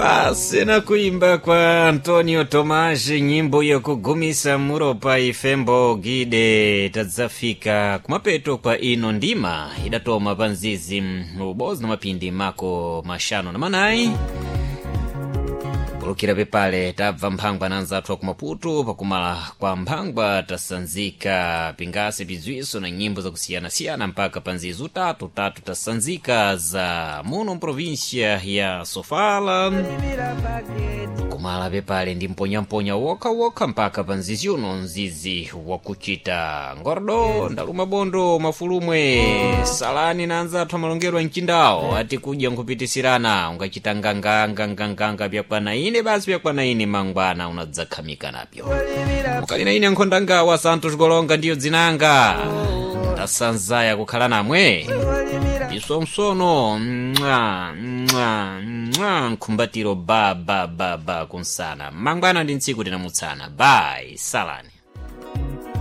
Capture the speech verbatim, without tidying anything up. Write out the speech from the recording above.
Basi na kuimba kwa Antonio Tomashi, nyimbo yokugumisa muropa ifembo gide. Tadzafika kumapeto kwa ino ndima idatoma pa nzizi ubozi na mapindi mako mashanu na manayi pulukira pepale tabva mphangwa na anzathu aku Maputo. Pakumala kwa mphangwa tasanzika pingasi pizwiso na nyimbo zakusiyanasiyana mpaka pa nzizi utatu tatu tasanzika za muno mprovinsia ya Sofala. Kumala pepale ndi mponyamponya wokhawokha mpaka pa nzizi uno, nzizi wakuchita ngordo ndaluma bondo mafulumwe salani na anzathu amalongerwa mchindawo ati kudya nkhupitisirana ungachita nganganganganganga pyakwana ine basi pyakwana ine mangwana unadzakhamika napyo. Mukali na ine nkhondangawa Santos Golonga ndiyo dzinanga, ndasanzaya kukhala namwe isomsono mwa mwa mwa nkhumbatiro ba ba ba ba kunsana mangwana ndi ntsiku tinamutsana. Bayi, salani.